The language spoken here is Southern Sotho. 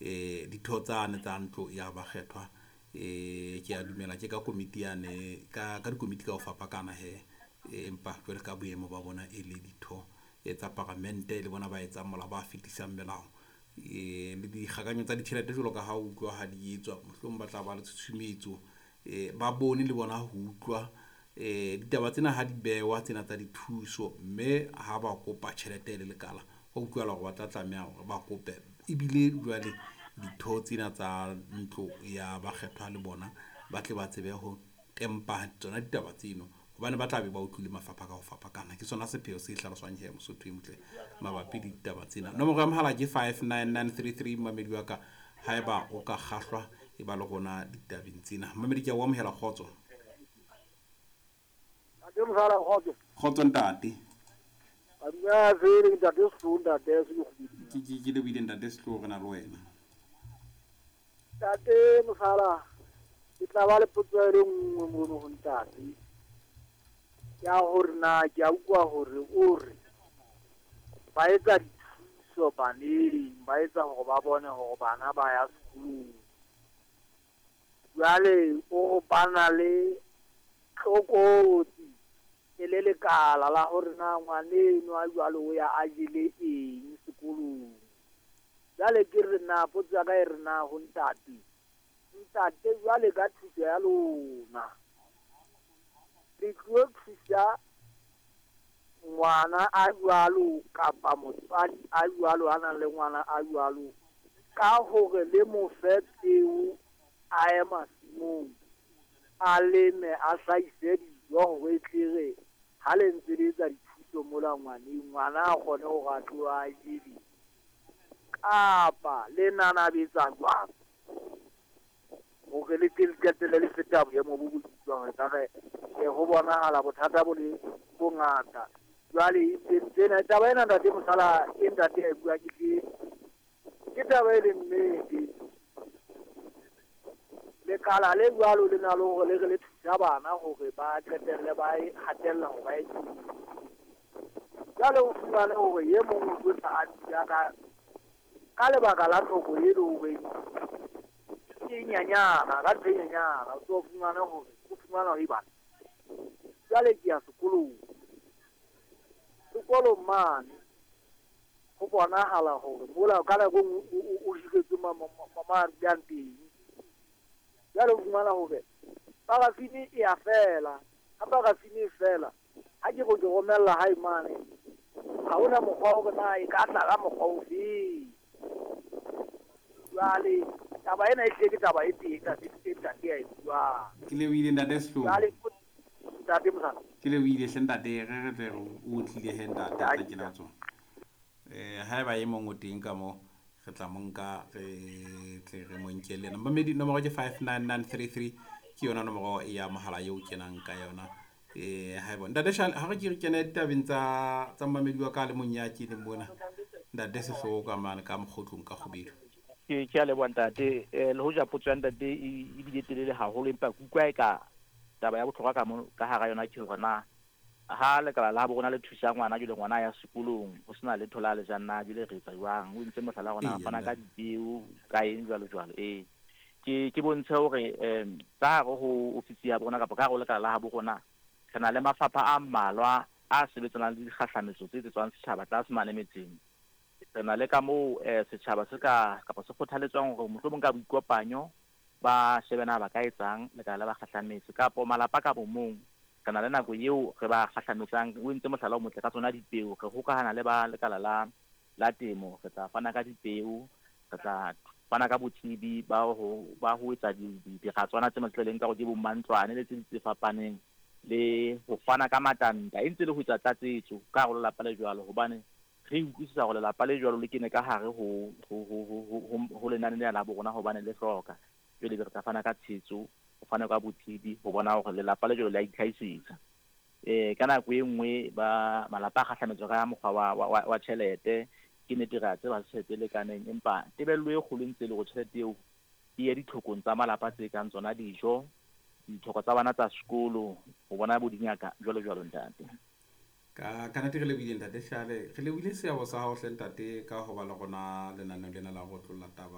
Ditho tsane tsa ntlo ya bakgethwa, ke a dumela ke ka komiti yane, ka dikomiti ka ho fapakana hee. Empa jwale ka boemo ba bona e le ditho tsa paramente, le bona ba etsang molao, ba fetisang melao le dikgakanyo tsa ditjhelete jwalo ka ha o utlwa ha di etswa, mohlomong ba tla ba le tshusumetso, ba bone le bona ho utlwa ditaba tsena ha di bewa tsena tsa dithuso, mme ha ba kopa tjhelete e le lekala, ho utlwahala hore ba tla tlameha hore ba kope ebile jwale ditho tsena tsa ntlo ya bakgethwa le bona ba tle ba tsebe ho tempa tsona ditaba tseno, hobane ba tla be ba utlwile mafapha ka ho fapakana. Ke sona sepheo se hlaloswang he Mosotho e motle mabapi le ditaba tsena. Nomoro ya mohala ke 59933, mamedi wa ka, haeba o ka kgahlwa e ba le rona ditabeng tsena. Mamedi, ke a o amohela, kgotso. Ntate Mosala, kgotso. Kgotso ntate. Dumela fele ntate Sehlooho, ntate Sehlooho. Ke lebohile ntate Sehlooho, re na le wena. Ntate Mosala, ke tla ba le potso e le nngwe mono ho ntate. Ya hore na ke a utlwa hore o re ba etsa dithuso baneng, ba etsa hore ba bone hore bana ba ya sekolong. Jwale o re ba na le tlokotsi e le lekala la hore na ngwaneno a jwalo o ya a jele eng sekolong. Jwale ke re na potso ya ka e re na ho ntate, ntate jwale ka thuso ya lona le tlo thusa ngwana a jwalo kapa motswadi a jwalo a nang le ngwana a jwalo ka hore le mo fe peo a ye masimong a leme a hlahise dijo hore e tle re ha le ntse le etsa dithuso mola ngwaneng, ngwana a kgone hore a tlo a je dijo, kapa le nanabetsa jwang hore le tle le qetelle le feta boemo bo bo bitswang ekare ho bonahala bothata bo le bongata. Jwale tsena taba ena ntate Mosala e ntate a e bua ke taba e leng nnete. Lekala le jwalo le na le hore le re le thusa bana hore ba qetelle ba e hatella hore ba e tsebe. Jwale o fumane hore e mong o tlo tla a dula ka lebaka la tlhoko e le horeng ke nyanyana, ka ntho e nyanyana, o tlo fumane hore o fumana hore bana jwale ke ya sekolong. Sekolong mane ho bonahala hore mola ka nako e nngwe o hiretswe ma dulang teng. Jwale o fumana hore parafini e a fela, ha parafini e fela, ha ke re ke romella hae mane, ha hona mokgwa hore na e ka tla ka mokgwa ofeng. Jwale taba ena e hlile ke taba e teng ntate, e ntate ya e buang. Ke lebohile ntate Sehlooho. Jwale ntate Mosala. Ke lebohile hle ntate, re re tle re o tlile he ntate, tla kena tsona. Haeba e mong o teng ka mo, re tla mo nka, re tle re mo nke le yena. Mamedi, nomoro ke 59933, ke yona nomoro ya mohala eo kenang ka yona. Haeba ntate Shale, ha re ke re kene ditabeng tsa mamedi wa ka le mong ya keneng mona, ntate Sehlooho ka mane ka mokgotlong ka Kgubedu. Ke a leboha ntate. Le hoja potso ya ntate e bile telele haholo, empa ke utlwa e ka taba ya bohlokwa ka mo ka hara yona ke hore na ha lekala la bo rona le thusa ngwana jwale ngwana ya sekolong ho sena letho la le jang na jwale re etsa jwang? O entse mohlala rona fana ka dipeo ka eng jwalo jwalo. Ke bontshe hore ka hare ho ofisi ya bona kapa ka hare ho lekala la habo rona re na le mafapha a mmalwa a sebetsanang le dikgahlametso tse etsetswang setjhaba tlase mane metseng. Re na le ka moo setjhaba se ka kapa se kgothaletswang hore mohlomong ka boikopanyo ba shebe na ba ka etsang lekala la bakgahlametse kapo malapa ka bomong. Re na le nako eo re ba kgahlametsang, o entse mohlala o motle ka tsona dipeo, re hokahana le ba lekala la temo, re tla fana ka dipeo, re tla fana ka botsebi ba ho etsa diratswana tse matleleng ka hore ke bo mantlwane le tse ding tse fapaneng, le ho fana ka matanta e ntse le ho etsa tlatsetso ka hare ho lelapa le jwalo, hobane re utlwisisa hore lelapa le jwalo le kene ka hare ho lenane lena la bo rona hobane le hloka. Jwale re tla fana ka tshehetso, ho fana ka botsebi ho bona hore lelapa le jwalo le a itlhahisetsa. Ka nako e nngwe ba malapa a kgahlametswa ka mokgwa wa tjhelete, ke nnete re a tseba tjhelete e lekaneng, empa tebello e kgolo e ntse e le hore tjhelete eo e ye ditlhokong tsa malapa tse kang tsona dijo, ditlhoko tsa bana tsa sekolo, ho bona bo dingaka jwalo jwalo ntate. Ka nnete re lebohile ntate Shale, re lebohile seabo sa hao hle ntate ka ho ba le rona lenaneo lena la ho otlolla taba.